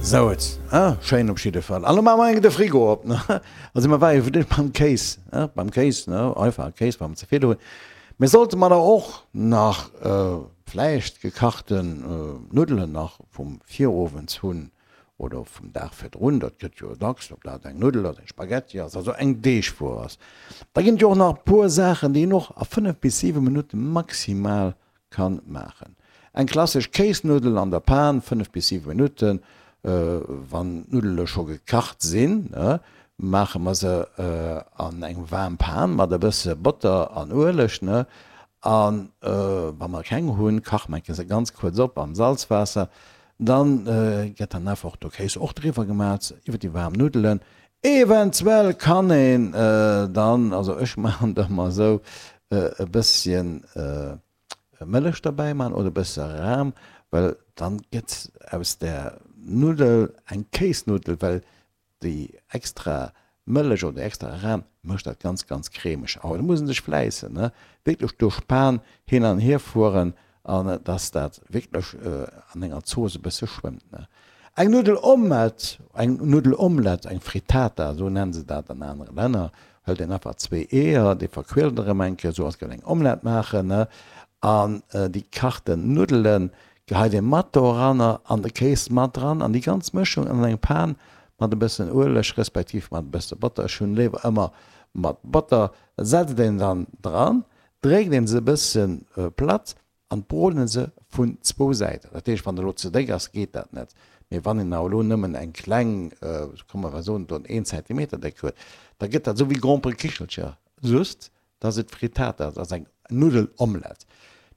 Sou et, ah, schéin op jidde Fall. An lo maache mer eng de Frigo op, ne? Also mer ware jo fir d'éischt beim Kéis, ne? Beim Kéis, ne? Einfache Kéis, wa mer ze vill hunn. Mee sollte mer da och nach vläicht gekachten Nuddelen nach vum Virowends hunn oder vum Dag virdrun, dat gëtt jo dacks, ob dat eng Nuddel ass, eng Spaghetti ass, also eng Deegwuer ass, da ginn et jo och nach e puer Saachen, déi een och a 5 bis 7 Minutte maximal kann maachen. Eng klassesch Kéisnuddel an der Pan, 5 bis 7 Minutten, wann d'Nuddele scho gekacht sinn, maache mer se an eng waarm Pan mat e bësse Botter an Ueleg, an wa mer keng hunn, kache mer se ganz kuerz op am Salzwaasser, dann gëtt dann einfach de Kéis och driwwer gemat iwwer déi waarm Nuddelen. Eventuell kann een dann, also ech maachen et ëmmer esou, e bësschen Mëllech derbäi maachen oder e bësse Ram, well dann gëtt aus där Nuddel eng Kéisnuddel, well déi extra Mëllech oder déi extra Ram mécht dat ganz ganz cremeg. Awer do muss een sech fläissen, ne, wierklech duerch d'Pan hin an hier fueren an dass dat wierklech an enger Zooss e bësse schwëmmt, ne. Eng Nuddelomelett, eng Nuddelomelett, eng Frittata, esou nennen se dat an anere Länner, hëlt een einfach zwee Eeër, déi verquirlt een erëm eng Kéier, esou als géif een eng Omelett maachen, ne, an déi gekachten Nuddelen geheit ee mat doranner an de Kéis mat dran an déi ganz Mëschung an eng Pan mat e bëssen Ueleg respektiv mat e bësse Botter, ech hunn léiwer ëmmer mat Botter, setzt een dann dran, dréckt een se e bësse platt An broden se vun zwou Säiten. Dat heescht, wann elo ze déck ass, geet dat net. Mee wann een awer elo nëmmen eng kleng, komm mer soen do een Zentimeter déck huet, da gëtt dat esou wéi Gromperekichelcher, just dass et Frittata ass, also eng Nuddelomelett.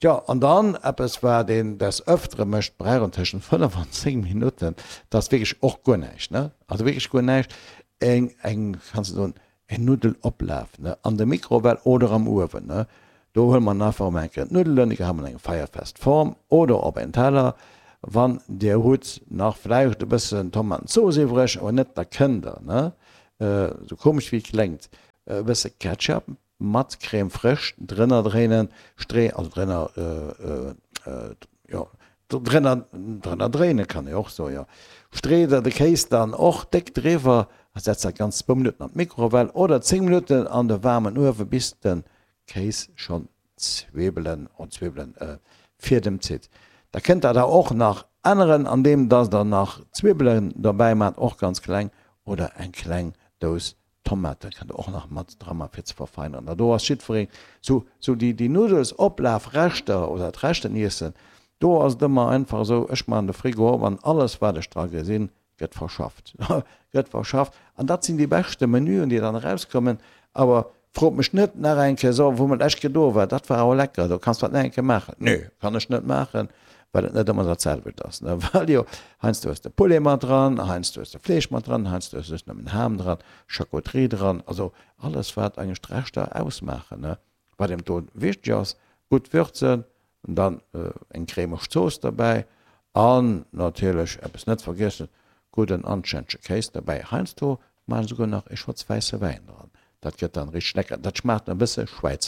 Tjo, an dann eppes wat een des Ëftere mécht, brauch en tëschent 5 an 10 Minutten, dat ass wierklech och guer näischt, ne, also wierklech guer näischt, eng, eng, kanns de soen, Eng Nuddeloplaf, ne, an der Mikrowell oder am Uewen, ne. Do huele mer einfach emol eng Kéier d'Nuddelen, déi geheie mer an eng feierfest Form oder op en Teller. Wann Dir hutt nach vläicht e bëssen Tomatenzooss iwwreg, awer net, da kënnt Der, ne, esou komesch wéi et kléngt, e bësse Ketchup mat Crème fraîche drënner dréinen, Stree, also drënner, jo, drënner, drënner dréinen kann ee och soen, jo. Street der de Kéis dann och déck driwwer a setzt dat Ganzt zwou Minutten an d'Mikrowell oder 10 Minutten an de waarmen Uewe bis de Kéis schonn Zwibbelen, oh Zwibbelen, Fiedem zitt. Da kënnt der der och nach änneren andeem dass der nach Zwibbelen dobäi maacht, och ganz kleng, oder eng kleng Dous Tomate kënnt der och nach mat dra man fir ze verfeineren. Da do ass jiddwereen sou sou déi déi Nudelsopplafreschter oder d'Reschteniessen, do ass et ëmmer einfach esou, ech man de Frigo op an alles wat ech dra gesinn gëtt verschafft, gëtt verschafft an dat sinn déi beschte Menüen déi dann erauskommen. Awer frot mech net nach eng Kéier, so wou mer d'lescht Kéier do war, dat war awer lecker, do kanns dat nach eng Kéier maachen. Nö, kann ech net maachen, well et net ëmmer dat selwecht ass, ne, well jo heiansdo hues de Poulet mat dran, heiansdo hues de Fleesch mat dran, heiansdo hues de just nëmmen Ham dran, Charcuterie dran, also alles wat eigentlech d'Reschter ausmaachen, ne. Wat eben do wichteg ass, gutt würzen, dann eng cremeg Zooss derbäi an natierlech eppes net vergiessen, gudden anstännege Kéis derbäi. Heiansdo maachen ech esouguer nach e Schotz wäisse Wäin dran, dat gëtt dann richteg lecker, dat schmaacht e bësse schwäizeresch.